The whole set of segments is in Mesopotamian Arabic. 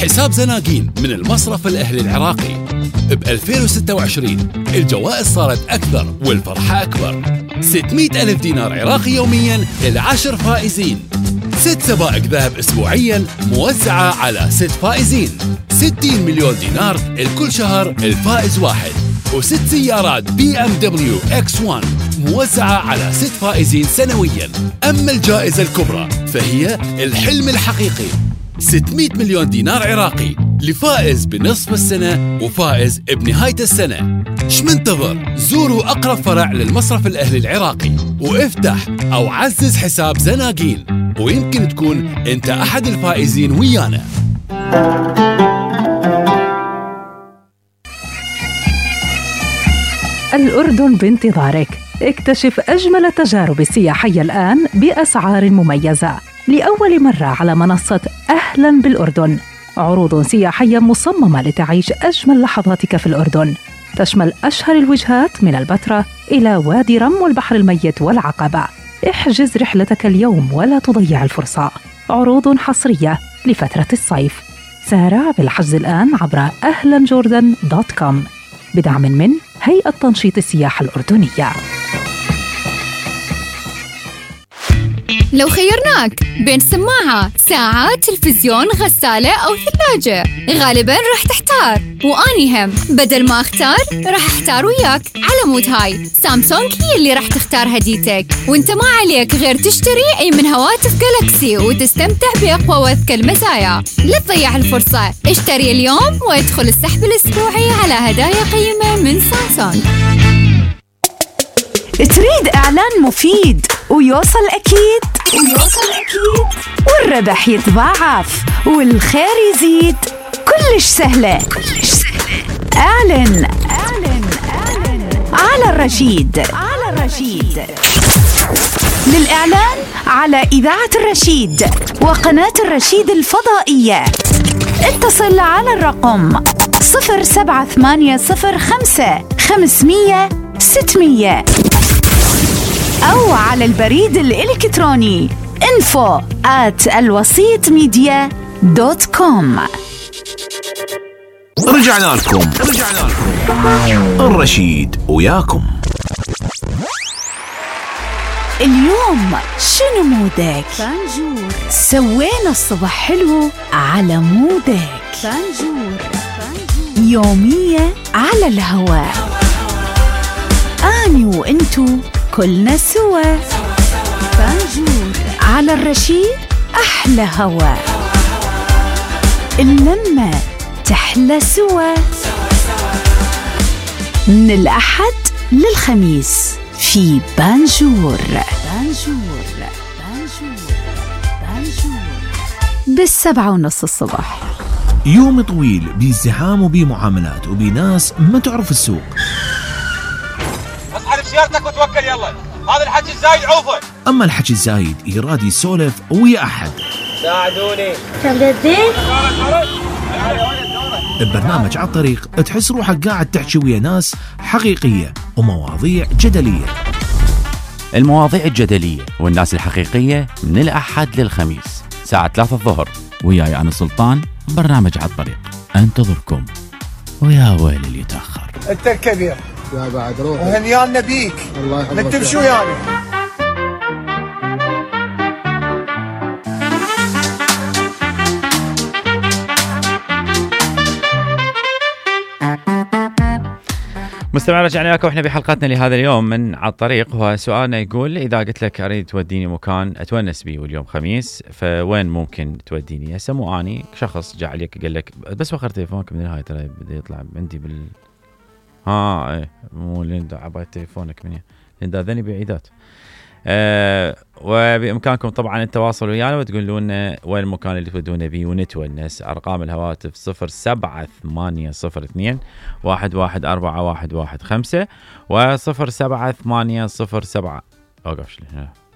حساب زناقين من المصرف الأهلي العراقي. ب 2026 الجوائز صارت أكثر والفرحة أكبر. 600 ألف دينار عراقي يومياً ل10 فائزين. 6 سبائك ذهب أسبوعياً موزعة على 6 فائزين. 60 مليون دينار لكل شهر الفائز واحد. و6 سيارات BMW X1 موزعة على 6 فائزين سنوياً. أما الجائزة الكبرى فهي الحلم الحقيقي، 600 مليون دينار عراقي لفائز بنصف السنة وفائز بنهاية السنة. شمنتظر؟ زوروا أقرب فرع للمصرف الأهلي العراقي وافتح أو عزز حساب زناقين، ويمكن تكون أنت أحد الفائزين ويانا. الأردن بانتظارك. اكتشف أجمل التجارب السياحية الآن بأسعار مميزة لأول مرة على منصة أهلاً بالأردن. عروض سياحية مصممة لتعيش أجمل لحظاتك في الأردن، تشمل أشهر الوجهات من البتراء إلى وادي رم والبحر الميت والعقبة. احجز رحلتك اليوم ولا تضيع الفرصة. عروض حصرية لفترة الصيف. سارع بالحجز الآن عبر ahlanjordan.com بدعم من هيئة تنشيط السياحة الأردنية. لو خيرناك بين سماعة، ساعة، تلفزيون، غسالة أو ثلاجة، غالباً راح تحتار. وأني هم بدل ما أختار راح أحتار وياك. على مود هاي سامسونج هي اللي راح تختار هديتك، وانت ما عليك غير تشتري أي من هواتف جالاكسي وتستمتع بأقوى وأذكى المزايا. لا تضيع الفرصة، اشتري اليوم وادخل السحب الأسبوعي على هدايا قيمة من سامسونج. تريد إعلان مفيد ويوصل أكيد والربح يتضاعف والخير يزيد؟ كلش سهلة. اعلن على الرشيد. للإعلان على إذاعة الرشيد وقناة الرشيد الفضائية اتصل على الرقم 07805 500 600 أو على البريد الإلكتروني info@alwasitmedia.com. رجعنا لكم الرشيد وياكم. اليوم شنو مودك؟ فانجور. سوينا الصبح حلو على مودك. فانجور. يومية على الهواء. أني وإنتو كلنا سوا. فانجور على الرشيد أحلى هواء. اللمة تحلى سوا. من الأحد للخميس في بانجور ب7:30 الصبح. يوم طويل بازدحام وبمعاملات وبناس ما تعرف السوق. اصحى بسيارتك وتوكل يلا، هذا الحكي الزايد عوفه. اما الحكي الزايد يراد يسولف ويا احد. ساعدوني. ببرنامج على الطريق تحس روحك قاعد تحكي ويا ناس حقيقية ومواضيع جدلية. المواضيع الجدلية والناس الحقيقية من الأحد للخميس ساعة 3 الظهر، وياي أنا سلطان. برنامج على الطريق انتظركم، ويا ويل اللي يتأخر. انت الكبير يا بعد روح وهنيانا بيك. الله يحفظك. انت شو يعني؟ مستمعين، رجعنا لكم احنا بحلقتنا لهذا اليوم من على الطريق. هو سؤالنا يقول: اذا قلت لك اريد توديني مكان اتونس بيه واليوم خميس، فوين ممكن توديني؟ هسه مو اني شخص جاء عليك قال لك بس وخر تليفونك من الهاي ترى بده يطلع عندي بال ايه مو لين عباية تليفونك من لين ذني بعيدات. وبإمكانكم طبعا التواصل ويانا وتقولون وين المكان اللي تودونا بيه ونتونس. أرقام الهواتف 07802 114115 و07807 اوقف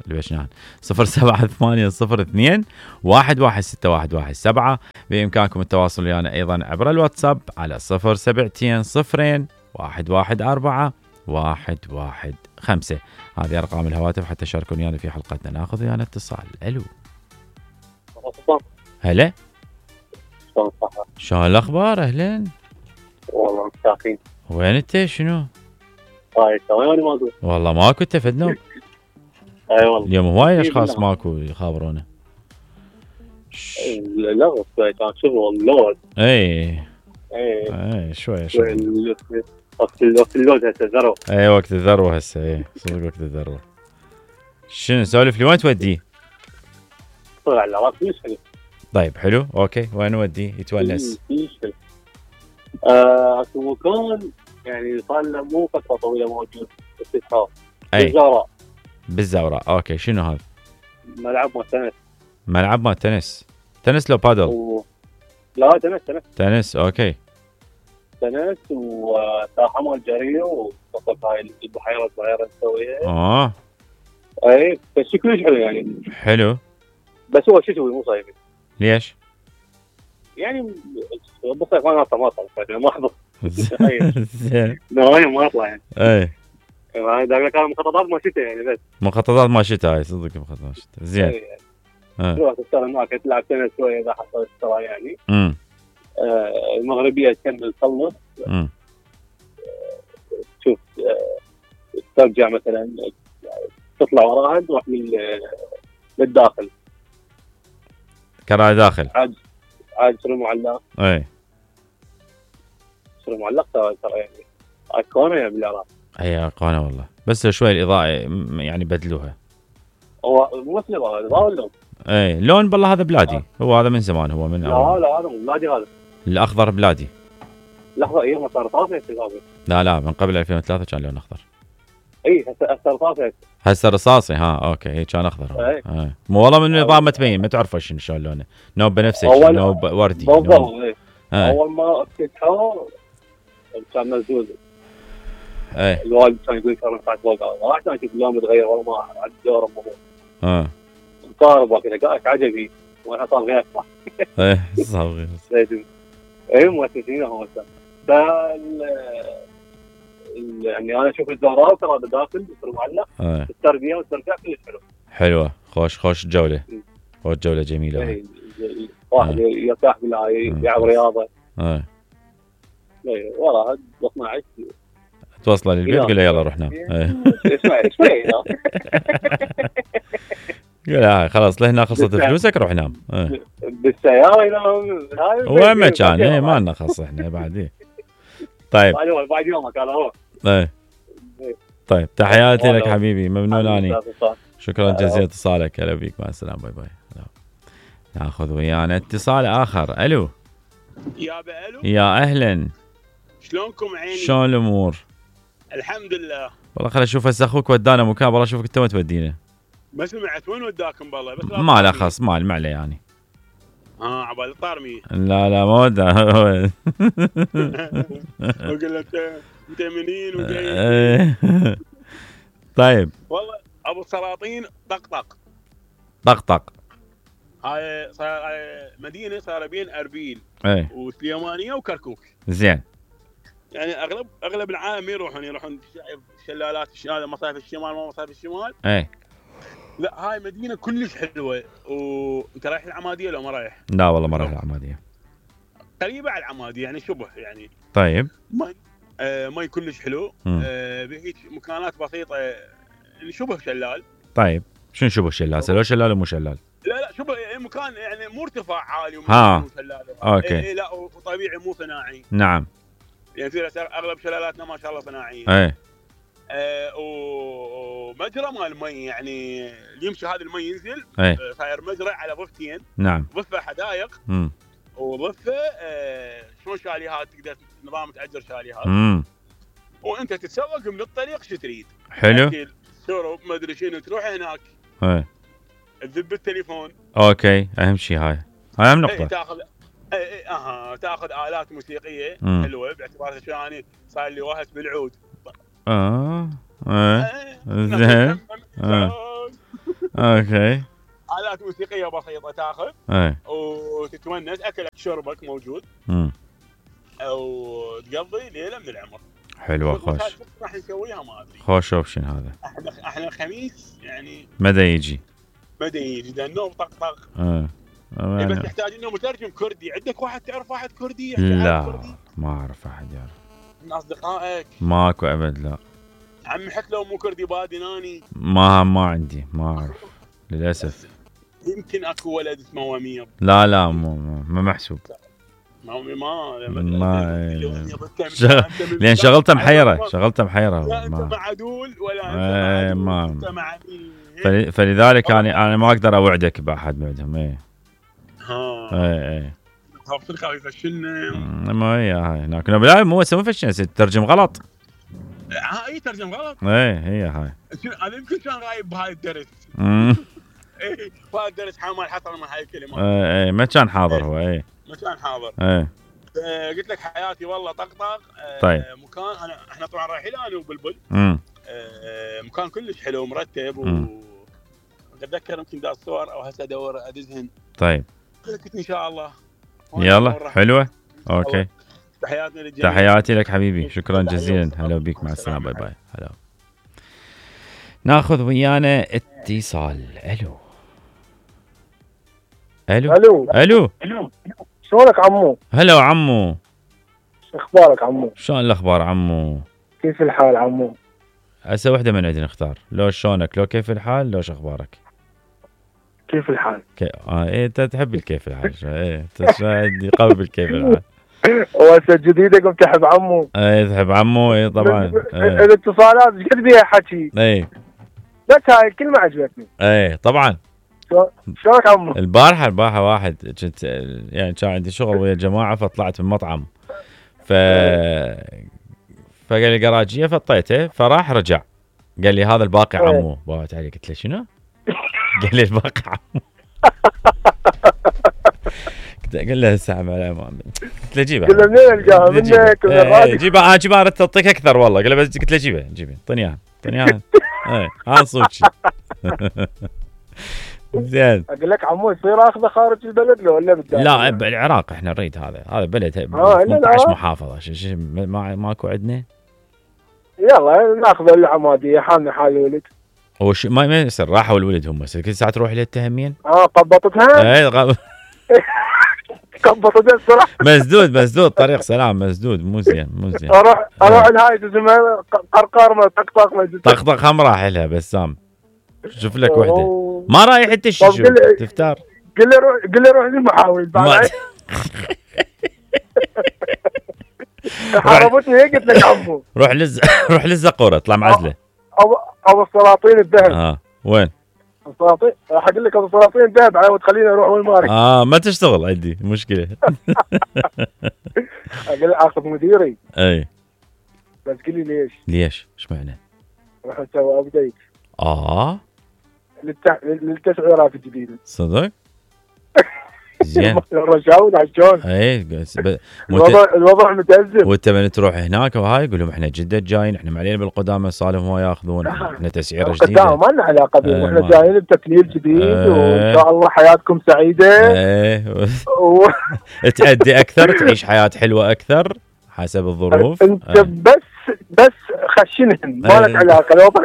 اللي بشنان 07802 116117. بإمكانكم التواصل ويانا أيضا عبر الواتساب على 072 114 115. هذه أرقام الهواتف حتى تشاركون ويانا في حلقتنا. ناخذ ويانا اتصال. ألو. هلا. شلون صحة؟ شلون الاخبار؟ اهلا. والله مستاخين. وين انت؟ شنو؟ طيب ثواني ما اقول. والله ماكو تفدنا. اي والله. اليوم هواي اشخاص ماكو يخابرونا. لا كان شغل اللود. اي شوي وقت اللود هسه ذروه. اي وقت الذروه هسه. اي صدق وقت الذروه. شنو سولف لي وين توديه؟ طلع العراق كلش حلو. طيب حلو اوكي وين نوديه يتونس؟ اكو مكان يعني صار له مو فتره طويله موجود باستثمار. اي بالزوراء اوكي. شنو هذا؟ ملعب مال تنس. ملعب مال تنس. تنس لو بادل؟ لا تنس اوكي. تنس وساحه مال جري وقصص هاي البحيره الصغيره نسويها. اي بس كلش حلو يعني. حلو. بس هو شتوي مو صيفي. ليش؟ يعني بالصيف انا ما اطلع ما احضر. زين. نهاية ما اطلع يعني. اي يعني كان مخططات ما شتاء يعني بس. مخططات ما شتاء هاي صدق مخططات شتاء. زين. تروح تشتغل معك تلعب تنس شويه اذا حصلت ترى يعني. المغربيه تكمل تخلص. تشوف ترجع مثلا تطلع وراها تروح للداخل. كراء داخل. عاد سر معلق. اي سر معلق ترى يعني ايقونه يا بالعراق. اي ايقونه والله بس شوي الاضاءه يعني بدلوها. هو مو مثل الاضاءه واللون. اي لون بالله هذا بلادي. هو هذا من زمان هو من لا هذا مو بلادي هذا. الاخضر بلادي. لحظه ايام صار طافي. لا من قبل 2003 كان لون اخضر. اي هسه طافي. هسه رصاصي. اوكي هي كان اخضر. مو والله من النظام ما تبين ما تعرف شلون لونه. نوب بنفسجي نوب وردي. بالضبط. اول ما افتتحوه كان مزوز. الوالد كان يقول كان صار فوق عشان اشوف اللون متغير والله ما عاد دور الموضوع. مقارب كذا عجبي وانا صار غير صح. صار غير. مؤسسين هو يعني انا اشوف الزهراء ترى داخل بصير معلق. التربيه والترجع كلش حلو. حلوه خوش جوله. خوش جوله جميله. واحد يرتاح بالله يلعب رياضه. وراها 12 توصله للبيت قول له يلا روح نام. اسمع لا خلاص لهنا خلصت فلوسك روح نام. بالسياره ينام. وين ما كان ما لنا خص احنا بعد. طيب بعد يومك هذا هو. طيب تحياتي لك حبيبي ممنون اني. شكرا جزيلا اتصالك. هلا بيك مع السلامه باي باي. ناخذ ويانا اتصال اخر. الو يا اهلا شلونكم عيني؟ شلون الامور؟ الحمد لله. والله خل اشوف هسه اخوك ودانا مكان والله اشوفك انت ما تودينا. ما سمعت وين وداكم بالله بس ما له خص ما عليه يعني. عبال الطارمي. لا ما ودا. اقول له انت منين وجاي. طيب والله ابو السلاطين طقطق هاي صار مدينه صار بين اربيل وسليمانيه وكركوك. زين يعني اغلب العالم يروحون شلالات هذا مصايف الشمال ما مصايف الشمال. لا هاي مدينه كلش حلوه. وانت رايح العماديه لو ما رايح؟ لا والله ما رايح العماديه. قريبه على العماديه يعني شبه يعني. طيب ماي كلش حلو. بهيك مكانات بسيطه يعني شبه شلال. طيب شنو شبه شلال؟ لو شلال ومو شلال؟ لا شبه مكان يعني مو ارتفاع عالي مو شلال. اوكي. لا وطبيعي مو صناعي. نعم يعني اغلب شلالاتنا ما شاء الله صناعيه. ومجرى مال المي يعني يمشي هذا المي ينزل. صاير مجرى على ضفتين. نعم ضفه حدائق وضفه شلون شاليهات تقدر نظام تاجر شاليهات. وانت تتسوق من الطريق شو تريد. حلو. شرب ما ادري شنو تروح هناك. تذب التليفون. اوكي اهم شيء هاي اهم نقطه. تاخذ الات موسيقيه حلوه باعتبار اني صار لي وهس بالعود. زين. اوكي آلات موسيقيه بسيطه تاخذ. وتتونس اكلك شربك موجود. وتقضي ليله من العمر. حلوه خوش. راح نسويها ما ادري. خوش اوبشن هذا. احنا الخميس يعني مدى يجي ده النوم طق. بس يحتاج انه مترجم كردي. عندك واحد تعرف واحد كردي لا كردي؟ ما اعرف احد يعرف من اصدقائك. ماكو ابد لا عمي حتى لو مو كردي بادناني. ما عندي ما اعرف للاسف. يمكن اكو ولد اسمه ومير. لا ما محسوب. ما لان شغلته محيره لا انت مع عدول ولا انت مع مين. فلذلك انا ما اقدر اوعدك باحد بعدهم. اي خاف يفشلنا. ما هي هاي هناك لا مو فشلنا ترجم غلط. اي ترجم غلط. هي هاي انا يمكن كان غايب بهاي الدرس. اي بهاي الدرس حامل حصل من هاي الكلمات. ما كان حاضر هو. ما كان حاضر. قلت لك حياتي والله طقطق. طيب مكان احنا طبعا رايحين انا وبلبل. مكان كلش حلو ومرتب اتذكر يمكن دا الصور او هسه ادور ادزهن. طيب قلت ان شاء الله. يلا حلوه. اوكي تحياتنا للجميع. تحياتي لك حبيبي شكرا جزيلا. هلا بيك مع السلامه باي باي. هلا ناخذ ويانا اتصال. الو شلونك عمو؟ هلا عمو شو اخبارك عمو؟ شلون الاخبار عمو؟ كيف الحال عمو؟ هسه وحده من عندنا نختار. لو شلونك لو كيف الحال لو شو اخبارك؟ كيف الحال؟ انت تحب الكيف الحال. انت قوي بالكيف الحال. وهسه جديده قمت تحب عمو. تحب عمو. طبعا الاتصالات ايش قد بيها حكي. بس هاي الكلمه عجبتني. طبعا. شلونك عمو؟ البارحه واحد كنت يعني كان عندي شغل ويا الجماعه فطلعت من مطعم فقال لي قراجيه فطيته فراح رجع قال لي هذا الباقي عمو. باوت علي قلت له شنو؟ قال لي الباقي عمو. قال له الساعه على امامي. قلت له جيبها. قلت له منين القاها منك من الراديو. جيبها جيبها اردت تعطيك اكثر والله. قال له بس قلت له جيبها اعطيني اياها. هذا صوتي. زين اقول لك عمو يصير اخذه خارج البلد لو ولا بالداخل؟ لا بالعراق احنا نريد هذا بلد 18 محافظه ماكو عندنا. يلا ناخذ العماديه حامي حال الولد. هو ما يصير راحوا الولد هم كل ساعه تروح له التهمين. قبطتها. قبطتها الصراحه. مسدود طريق سلام مسدود مو زين اروح لهاي اسمها قرقار ما طقطق هم راح لها بسام. شوف لك وحده ما رايح انت شو تفتار. قل لي روح للمحاول بعد. حربتني هيك قلت لك عمو روح للزقوره اطلع معزله. ابو السلاطين الذهب. وين؟ السلاطين راح اقول لك ابو السلاطين الذهب على تخليني اروح وين مارك. ما تشتغل عندي مشكله. اقول اخذ مديري. بس قل لي ليش؟ ايش معنى؟ راح نسوي ابديت. للتسعيرات الجديده. صدق؟ زين. الرجاوي عشان. الوضع متأزم. وانت من تروح هناك وهاي يقول لهم احنا جدة جايين احنا معلين بالقدامى صالهم هو ياخذون احنا تسعيره جديده. ما لنا علاقه بهم احنا جايين بتكليف جديد وان شاء الله حياتكم سعيده. تأدي اكثر تعيش حياه حلوه اكثر حسب الظروف. انت بس خشنهم ما لك علاقه.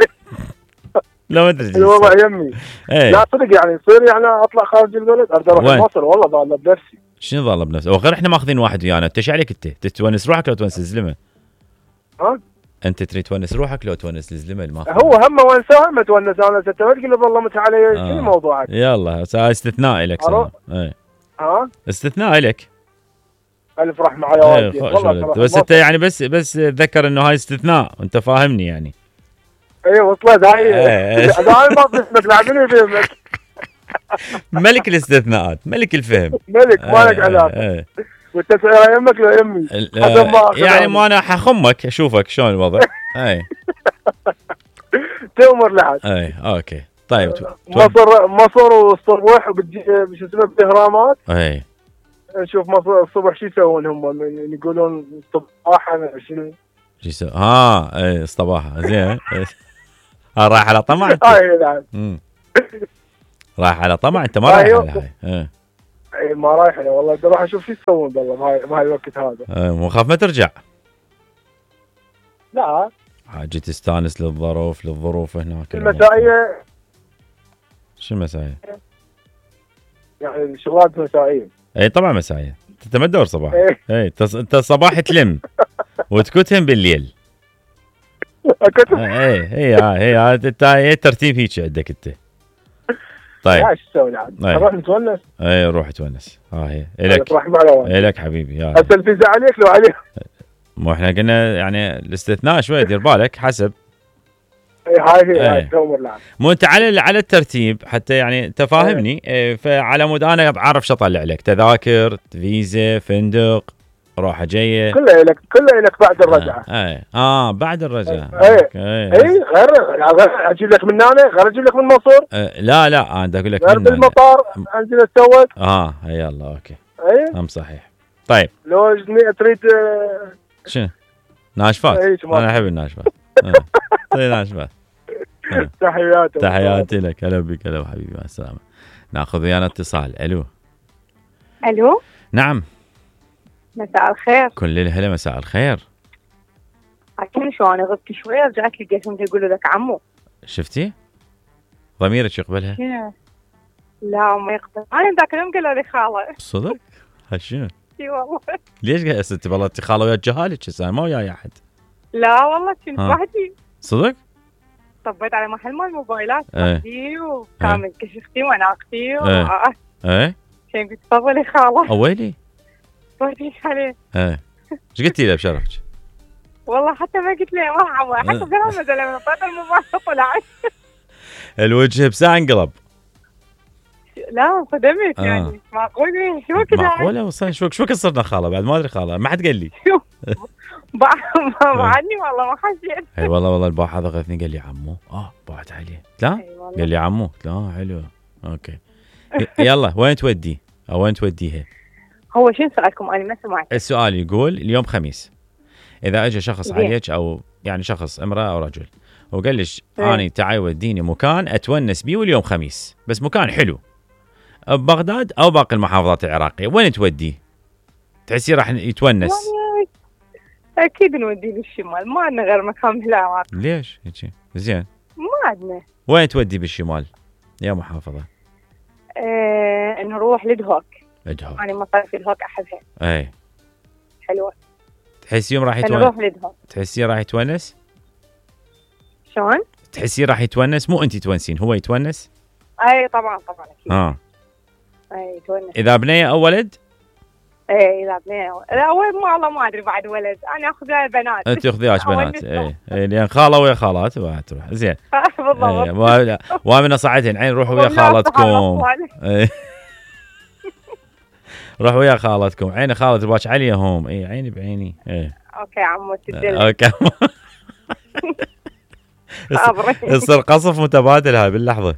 لا ما ادري الوضع يمي. لا صدق يعني يصير يعني اطلع خارج البلد ارجع اروح مصر والله ضاله بنفسي. شنو ضاله بنفسي؟ وغير احنا ماخذين واحد ويانا. انت ايش عليك انت؟ تتونس روحك لو تونس الزلمه؟ انت تريد تونس روحك لو تونس الزلمه اللي ماخذ؟ هو هم ونسه ما تونس انا ستة تقول له والله مت علي شنو موضوعك؟ يلا استثناء لك استثناء لك. الف رحمه على والدي والله. بس انت يعني بس تذكر انه هاي استثناء وانت فاهمني يعني. وصلت هاي. هاي ما باسمك لاعبيني فهمك. ملك الاستثناءات ملك الفهم. ملك ما لك علاقه. والتسعيره يمك لو يمي. يعني ما انا حخمك اشوفك شلون الوضع. تؤمر لحد. اوكي طيب. مصر والصبح شو اسمه باهرامات. نشوف مصر الصبح شو يسوون هم يقولون صباحا شنو. شو يسوون؟ الصباحه زين. رايح على طمع انت. رايح على طمع انت ما رايح على هاي. ما رايح له والله بدي اروح اشوف شو يسوون والله بهاي الوقت هذا. مو خاف ما ترجع. لا حاجة تستانس للظروف هناك. المسائية. شو المسائية؟ يعني الشغلات مسائيه. اي طبعا مسائيه، انت ما تدور صباح. اي انت الصباح تلم وتكتهم بالليل. هي الترتيب هيك عندك انت. طيب ايش تسوي العاد؟ نروح نتونس. اي روح تونس. هي الك. الك حبيبي. يا هسه الفيزا عليك لو عليك. مو احنا قلنا يعني الاستثناء شوي دير بالك حسب. هاي مو انت على الترتيب حتى يعني تفاهمني. فعلى مود انا بعرف شو اطلع لك، تذاكر، فيزا، فندق، روحه جايه، كله لك بعد الرجعه. بعد الرجعه. غير اجيب لك من هنا، غير اجيب لك من مصر. لا انا اقول لك غير بالمطار انزل اتسوق. يلا اوكي. ام صحيح. طيب لو تريد شنو؟ ناشفات. انا احب الناشفات. ناشفات. تحياتي لك. هلا بك. هلا حبيبي، مع السلامه. ناخذ ويانا اتصال. الو. نعم. مساء الخير. كل الهلا، مساء الخير. عارفين شو انا غبت شوي، رجعت لقيتهم يقولوا لك عمو. شفتي؟ ضميرك يقبلها؟ لا ما يقبل. انا ذاك اليوم قالوا لي خاله. صدق؟ هالشنو؟ اي والله. ليش قاعد انت والله انت خاله ويا جهالك هسه ما وياي احد؟ لا والله كنت وحدي. صدق؟ طبيت على محل مال موبايلات وحدي وكان من كشفتي وانا اختي كان قلت تفضلي خاله. اويلي طيب عليه. ايش قلتي له بشرفك؟ والله حتى ما قلت له ما عمو، حتى بلا مدى لما طلعت الموبايل طلع الوجه بساعة انقلب. لا انصدمت يعني معقول شو كذا؟ معقولة وصل شو صرنا خاله بعد ما ادري خاله ما حد قال لي. بعدني والله ما حسيت. اي والله البارحة ضغطني قال لي عمو. بعد عليه. لا قال لي عمو. لا حلو اوكي. يلا وين تودي او وين توديها؟ هو شنو سؤالكم؟ انا ما سمعت. السؤال يقول اليوم خميس، اذا اجى شخص عليك او يعني شخص امرأة او رجل وقال ليش اني تعي وديني مكان اتونس بيه واليوم خميس، بس مكان حلو ببغداد او باقي المحافظات العراقية، وين توديه؟ تحسي راح يتونس؟ اكيد نوديه بالشمال، ما عندنا غير مكان بالعراق. ليش هيك؟ زين ما عندنا. وين تودي بالشمال يا محافظة؟ نروح لدهوك. لدهوك انا مصاري دهوك احبها. اي حلوة. تحسي يوم راح يتونس؟ نروح لدهوك. تحسي راح يتونس؟ شلون؟ تحسي راح يتونس؟ مو انت تونسين، هو يتونس؟ اي طبعا اكيد. اي يتونس. اذا بنيه او ولد؟ اي اذا بنيه. لا ولد والله ما ادري بعد ولد، انا اخذ بنات. انت اخذياش بنات. اي لان خاله ويا خالات تروح. زين. بالضبط. وامنه صعدين عين روحوا ويا خالتكم. روحوا ويا خالتكم. عيني خالد باش عليهم. اي عيني بعيني. اوكي عمو تدل. اوكي. يصير قصف متبادل هاي باللحظه.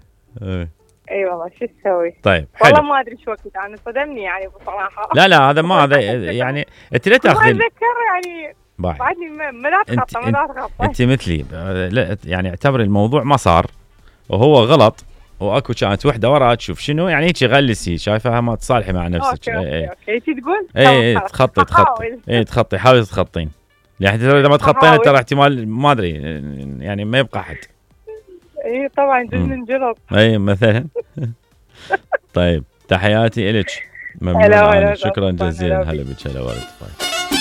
اي والله شو تسوي؟ طيب والله ما ادري شو وقت انا صدمني يعني بصراحه. لا هذا ما هذا يعني انت لا تاخذين. ما اتذكر يعني بعدني ما تخطى. انت مثلي لا يعني اعتبري الموضوع ما صار وهو غلط واكو كانت وحده وراها تشوف شنو يعني هيك غلسي شايفاها ما تصالحي مع نفسك. اوكي تقول تخطي حاولي تخطين، يعني اذا ما تخطين ترى احتمال ما ادري يعني ما يبقى احد. اي طبعا جزء من جرب. اي مثلا. طيب تحياتي الك. ممنون. شكرا جزيلا. هلا بك. هلا ورد.